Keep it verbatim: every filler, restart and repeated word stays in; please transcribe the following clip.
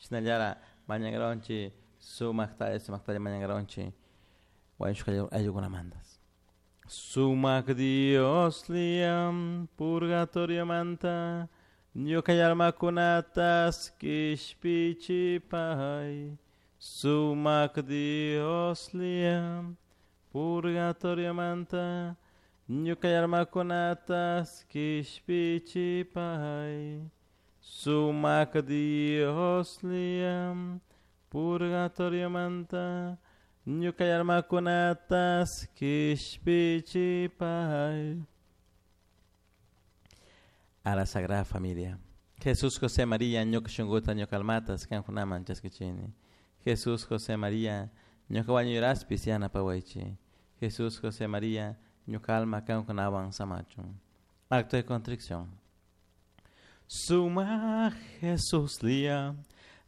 Shinallara mañankaronchik sumaktalla sumaktalla mañankaronchik wañushka ayllukunamantas. Sumak Dios liam purgatoriomanta ñuka almakunatas kishpichipay. Sumak Dios liam purgatoriomanta ñuka almakunatas kishpichipay. Sumak Dios liam purgatoriomanta ñuka almakunatas kishpichipay. A la Sagrada Familia. Jesús, José, María, ñuka shunkuta, ñuka almatas, kankunaman chaskichini. Jesús, José, María, ñuka wañuyraspis yanapawaychik. Jesús, José, María, ñuka alma kankunawan samachun. Acto de contrición. Suma Jesús lia